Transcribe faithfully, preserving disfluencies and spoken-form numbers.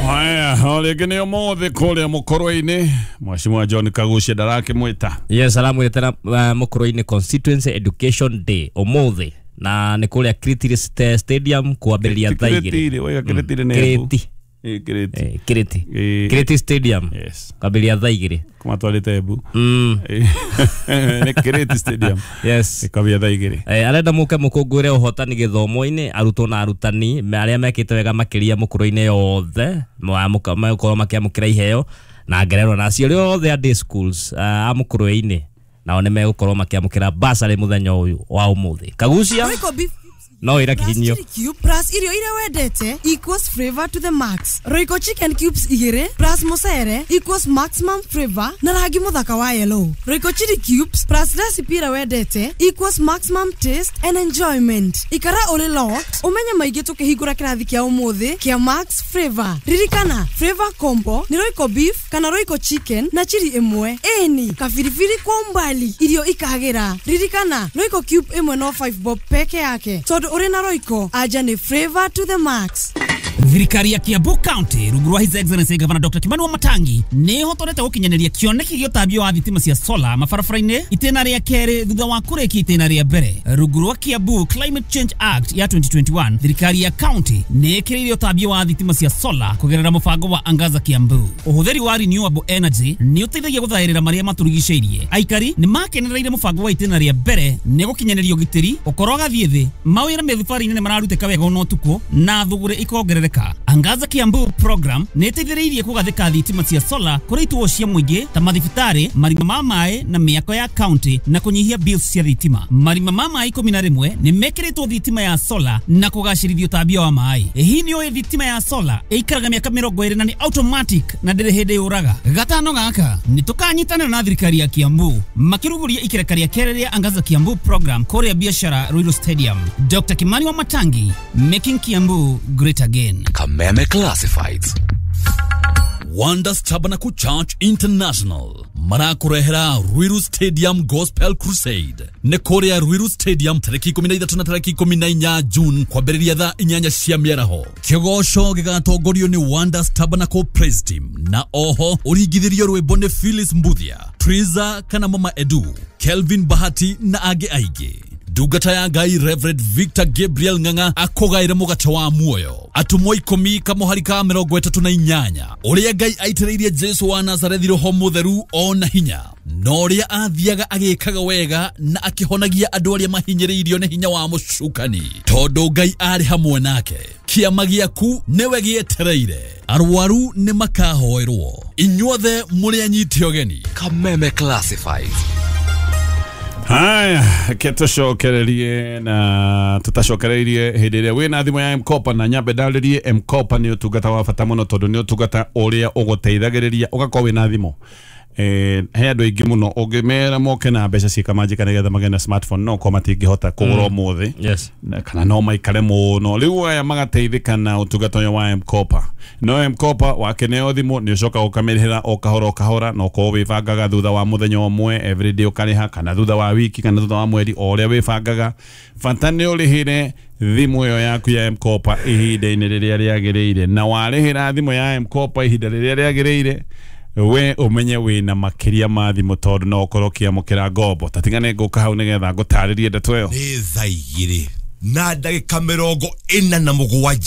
Haya, o rĩngĩ nĩ ũmũthĩ kũrĩa Mũkũrwe-inĩ, Mheshimiwa John Kagucia ndarakĩmwĩta. Yes, aramwĩtĩra uh, Mũkũrwe-inĩ Constituency Education Day ũmũthĩ, na nĩ kũrĩa Kiriti Stadium kwambĩrĩria thaa igĩrĩ. Kĩrĩtĩ, waiga Kĩrĩtĩ nĩ Embu. Kiriti. Ĩ, Kĩrĩtĩ. Eh, Kiriti. Ĩ. Kiriti Stadium. Yes. Kwambĩrĩria thaa igĩrĩ. Kũmatwarĩte Embu. Mm. Ĩ, nĩ Kĩrĩtĩ Stadium. Yes. Ĩkambia thaa igĩrĩ. Eh, arenda mũke mũkũngũĩre ũhotani gĩthomo-inĩ, arutwo na arutani me- arĩa mekĩte wega makĩria Mũkũrwe-inĩ yothe megũkorwo makĩamũkĩra iheo na ngerenwa, na aciari othe a day schools uh, a Mũkũrwe-inĩ nao nĩ megũkorwo makĩamũkĩra basarĩ mũthenya ũyũ wa ũmũthĩ. Kagucia Royco beef no ĩra plus kihinyio. Chili cube plus irio iria wendete equals flavor to the max. Royco chicken cubes igĩrĩ plus mũcere equals maximum flavor na rangi mũthaka wa yellow. Royco chili cubes plus recipe ĩrĩa wendete equals maximum taste and enjoyment. Ikara ũrĩ locked ũmenye maingĩ tũkĩhingũra kĩrathi kĩa ũmũthĩ kĩa Max Flavor. Ririkana, flavor combo nĩ Royco beef kana Royco chicken na chili ĩmwe, ĩni kabiribiri kwa umbali, irio ikagĩra. Ririkana, Royco cube ĩmwe no five bob peke yake, tondũ ũrĩ na Royco anja nĩ flavor to the max. Thirikari ya Kiambu County rungu rwa His Excellency Governor Doctor Kimani Wamatangi nĩ ĩhotorete gũkinyanĩria kĩoneki gĩa ũtambia wa thitima cia solar mabarabara-inĩ itĩna rĩa kerĩ thutha wa kũrĩkia itĩna rĩa mbere. Rungu rwa Kiambu Climate Change Act ya twenty twenty-one, thirikari ya county nĩ ĩkĩrĩire ũtambia wa thitima cia solar kũgerera mũbango wa Angaza Kiambu. Ũhũthĩri wa renewable energy nĩ ũteithagia gũthaĩrĩra marĩa matũrigicĩirie. Aikari nĩ makenereire mũbango wa itĩna rĩa mbere nĩ gũkinyanĩria ũgitĩri ũkorwo gathiĩ thĩ, mawĩra mĩthibarĩ-inĩ nĩ mararutĩka wega ona ũtukũ na thũgũrĩ ikongerereka. Angaza Kiambu program nĩ ĩteithĩrĩirie kũgathĩka thitima cia solar kũrĩ ituo cia mũingĩ ta mathibitarĩ, marima ma maĩ na mĩako ya county na kũnyihia bills cia thitima. Marima ma maĩ ikũmi na rĩmwe nĩ mekĩrĩtwo thitima ya solar na kũgacĩrithia ũtambia wa maĩ. Hihi nĩ ũĩ thitima ya solar ĩikaraga mĩaka mĩrongo ĩrĩ na nĩ automatic na ndĩrĩ hĩndĩ yũraga? Gatano gaka nĩ tũkanyitanĩra na thirikari ya Kiambu makĩrugũria ikereka rĩa kerĩ rĩa Angaza Kiambu program kũrĩa biashara Ruiru Stadium. Doctor Kimani Wamatangi, making Kiambu great again. Kameme Classifieds. Wonders Tabernacle Church International marakũrehera Ruiru Stadium Gospel Crusade. Nĩ kũrĩa Ruiru Stadium tarĩki ikũmi na ithatũ na tarĩki ikũmi na inya June kwambĩrĩria thaa inyanya cia mĩaraho. Kĩgoco gĩgatongorio nĩ Wonders Tabernacle Praise Team na oho ũringithĩrio rwĩmbo nĩ Phyllis Mbuthia, Triza kana Mama Edu, Kelvin Bahati na angĩ aingĩ. Ndungata ya Ngai Reverend Victor Gabriel Ng'ang'a akũgaĩre mũgate wa muoyo. Atũmwo ikũmi kamũhari ka mĩrongo ĩtatũ na inyanya, ũrĩa Ngai aitĩrĩirie Jesu wa Nazarethi roho mũtheru ona hinya, na ũrĩa athiaga agĩkaga wega na akĩhonagia andũ arĩa mahinyĩrĩirio nĩ hinya wa mũcukani, tondũ Ngai arĩ hamwe nake. Kĩama gĩaku nĩwe gĩetereire. Arwaru nĩ makahoerwo. Inyuothe mũrĩ anyite ũgeni. Kameme Classifieds. Haya, ke tũcokererie na tũtacokereirie hĩndĩ ĩrĩa wĩna thimũ ya M-Kopa, na nyambe ndarĩrie M-Kopa nĩ ũtungata wa bata mũno, tondũ nĩ ũtungata ũrĩa ũgũteithagĩrĩria ũgakorwo wĩna thimũ. eh, he andũ aingĩ mũno ũngĩmera moke na mbeca ciĩkamanjĩka nĩgetha magĩe na smartphone, no korwo matingĩhota kũgũra ũmũthĩ Yes. na- kana no maikare mũno. Rĩu aya magateithĩka na ũtungata ũyũ wa M-Kopa. No M-Kopa wakeneo thimũ nĩ ũcoka ũkamĩrĩhĩra o kahora o kahora, na ũkorwo wĩbangaga thutha wa mũthenya ũmwe everyday ũkarĩha, kana thutha wa wiki, kana thutha wa mweri, o ũrĩa wĩbangaga. Bata nĩ ũrĩhĩre thimũ ĩyo yaku ya M-Kopa ihinda-inĩ rĩrĩa rĩagĩrĩire, na warĩhĩra thimũ ya M-Kopa ihinda rĩrĩa rĩagĩrĩire, we ũmenye wĩna makĩria ma thimũ, tondũ no ũkorwo ũkĩamũkĩra ngombo. Tatigane ngũka hau nĩgetha ngũtarĩrie ndeto ĩyo. Nĩ thaa igĩrĩ na ndagĩka mĩrongo ĩna na mũgwanja.